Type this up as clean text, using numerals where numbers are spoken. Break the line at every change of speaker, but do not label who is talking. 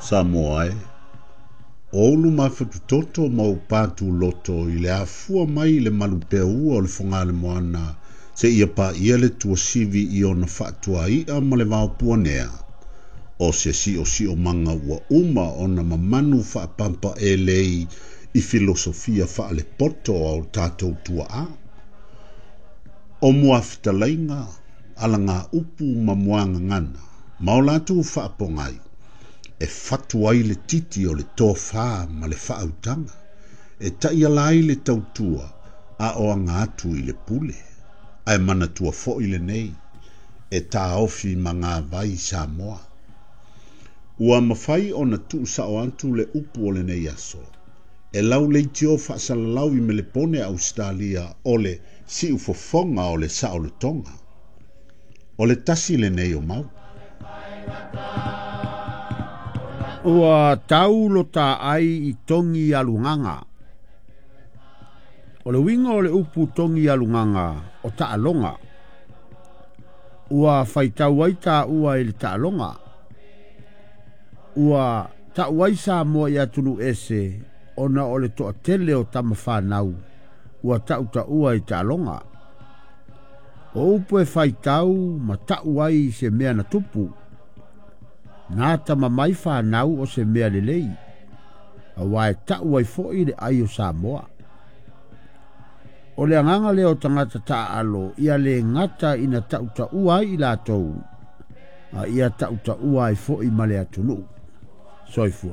Samoa e, o ou luma fatutoto ma ou pātūloto i le afua mai i le malupeaua o le Fogaalemoana seia paia le tuasivi i ona faatuai'a ma le vaopuanea, o se siosiomaga ua uma ona mamanu faapampaelei i filosofia faalepoto a o tatou tuaa. O muafetalaiga, alagaupu ma muagagana, ma o latou faapogai, e fatu ai le titi o le tofā ma le faautaga, e taiala ai le tautua a o aga atu i le pule. Ae manatua foi lenei, e taofi magavai Samoa. Ua mafai ona tuusao atu le upu o lenei aso, e lauleitio faasalalau i Melepone Ausetalia o le siufofoga o le saolotoga. O le tasi lenei o mau.
Ua tau lo ta ai i togi alugaga. O le uiga o le upu togi alugaga o taaloga. Ua faitau ai taua i le taaloga. Ua ta'u ai Samoa i atunuu ese ona o le toatele o tamafanau ua tautaua i taaloga. O upu e faitau ma ta'u ai se mea na tupu. Na tama mai fanau o se mea lelei, auā e ta'u ai fo'i le ai o Samoa. O le agaga lea o tagata taaalo ia lē gata ina tautaua ai i latou, a ia tautaua ai fo'i ma le atunuu. Soifua.